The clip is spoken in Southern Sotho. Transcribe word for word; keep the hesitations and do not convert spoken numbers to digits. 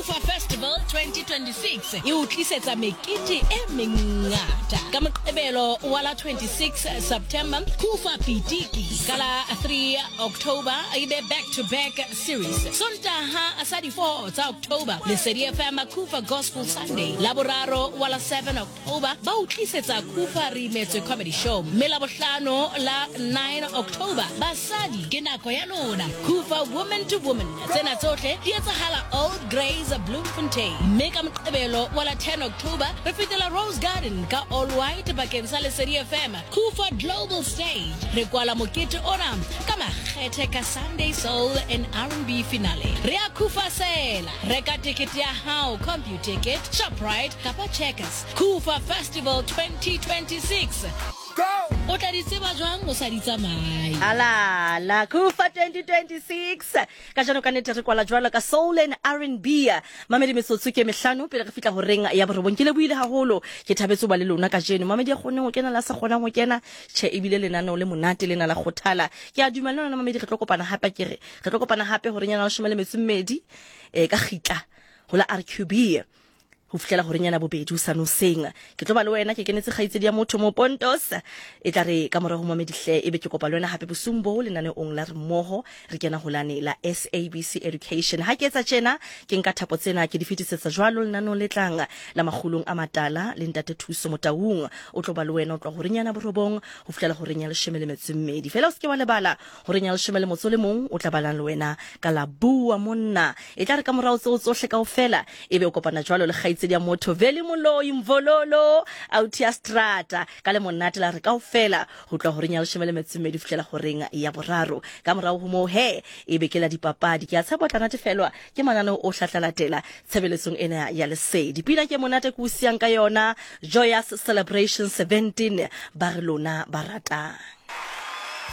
Kufa Festival twenty twenty-six e o tlisetsa mekete e mengata. Ka Moqebelo wa la twenty-six September, Kufa Pitiki. Ka la three October e be back to back series. Sontaha sa di four tsa October, Lesedi F M Kufa Gospel Sunday. Laboraro wa la seven October ba o tlisetsa Kufa Re Imetswe Comedy Show. Mme Labohlano la nine October, basadi ke nako ya lona. Kufa Woman to Woman. Tsena tsohle di etsahala Old Grays Bloemfontein. Mme ka Moqebelo wa la ten October re fetela Rose Garden ka All White bakeng sa Lesedi F M Kufa Global Stage. Re kwala mokete ona ka makgethe ka Sunday Soul and R and B finale. Re a Kufa sela. Reka ticket ya hao, Computicket, Shoprite kapa Checkers. Kufa Festival twenty twenty-six. Go! O tla di tseba jwang o sa di tsamaye? Ala la Kufa twenty twenty-six. Ka jano ka nnete re kwala jwalo ka Soul and R and B. Mamedi metsotso ke mehlano pele re fihla horeng ya borobong. Ke lebohile haholo, ke thabetse ho ba le lona kajeno. Mamedi ya kgoneng ho kena la sa kgonang ho kena, tjhe ebile lenaneo le monate lena la kgothala. Ke a dumela lona mamedi re tlo kopana hape, ke re re tlo kopana hape horeng ya leshome le metso e mmedi eh ka kgitla ho la R Q B. Ho fihlela horeng yana bobedi ho sa noseng. Ke tlo ba le wena, ke kenetse kgaitsedi ya motho mo Pontos. E tla re ka morao ho mamedi hle ebe ke kopa le wena hape bosiung bo lenaneong la re mmoho re kena ho lane la S A B C Education. Ha ke etsa tjena ke nka thapo tsena ke di fetisetsa jwalo lenaneong le tlang la makgulong a matala le ntate Thuso Motaung. O tlo ba le wena o tloha horeng yana borobong ho fihlela horeng ya leshome le metso e mmedi. Fela o se ke wa lebala horeng ya leshome le motso le mong o tla balang le wena ka la bua monna. E tla re ka morao tseo tsohle kaofela ebe o kopana jwalo le kgaitsedi ya motho Veli Moloi Mvololo Autia Strata ka le monate la re kaofela ho tloha horeng ya leshome le metso e mmedi ho fihlela horeng ya boraro. Ka morao ho moo he ebe ke la dipapadi. Ke a tshepa o tla natefelwa ke mananeo o hlatlalatela tshebeletsong ena ya Lesedi. Pina ke monate ke o siyang ka yona, Joyous Celebration seventeen, ba re lona ba ratang.